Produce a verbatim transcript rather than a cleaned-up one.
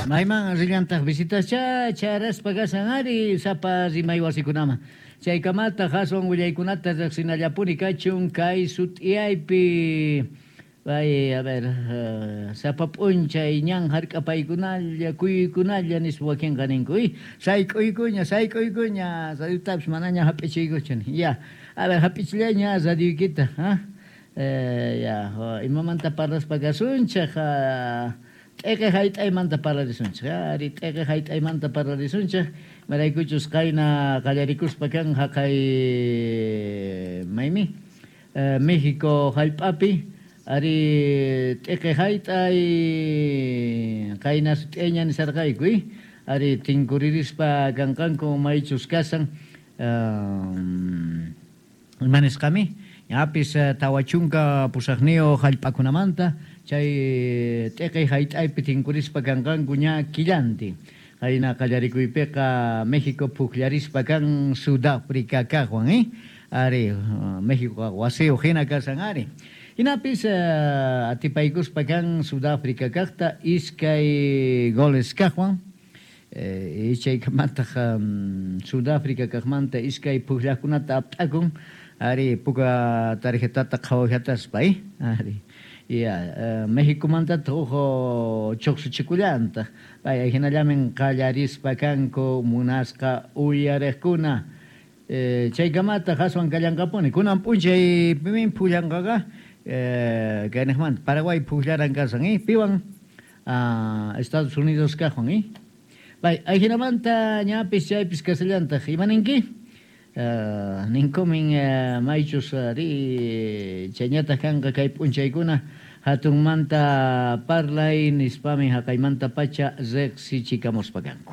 Mayman rillantaq visitascha charaspa kashan ari sapa rimay wasikunaman. Chaykamataq aswan willaykunata riqsinallapuni kachun kay sut'iyaypi. Ay, a ver, uh, sapa p'unchay ñan hark'apaykunalla, kuyuykunalla nispa wakinqa ninku. Y sayk'uykuña, sayk'uykuña, radiotapis manaña hap'ichiykuchu. Ya, a ver, hap'ichillaña radioykita, ha? Eh, ya, imamanta parlaspa kasunchik, t'eqe hayt'aymanta parlarisunchik, ari t'eqe hayt'aymanta parlarisunchik, maraykuchus qayna qallarikuspa kan haqay maymi, eh, México hallp'api, ari t'eqe hayt'ay qayna sut'iyña nisarqayku, ari tinkuririspa kanqanku maychus kasan, um, ima nisqami, ñapis tawa chunka pusaqniyuq hallp'akunamanta chay t'eqe hayt'aypi tinkurispa kanqanku ña killantin. Qayna qallarikuypiqa México pukllarispa kan Sudáfrica kaqwan, eh? Ari, México wasiyuq hina kasan ari. Hinapis uh, atipaykuspa kan Sudáfrica kaqta iskay goles kaqwan. Eh, chaykamataq um, Sudáfrica kaqmanta iskay pukllaqkunata ap'akun. Ari puka tarjetata qhawajataspa, eh? Ari. Ya, uh, Méxicomantataq uj chuqsuchikullantaq. Pay hinallamin qallarispa kanku munasqa uyariqkuna. Eh, chaykamataq aswan kallanqapuni. Kunan p'unchay pimin pullanqaqa eh, kaynaqmanta Paraguay pukllaran kasan, eh? Piwan ah, Estados Unidos kaqwan, eh? Pay ajinamanta ñapis chaypis kasallantaq. Imaninki? Uh, ninkumin uh, maychus ari chayñataq kanqa kay p'unchaykuna hatunmanta parlay nispami haqaymanta pacha riqsichikamuspa kanku.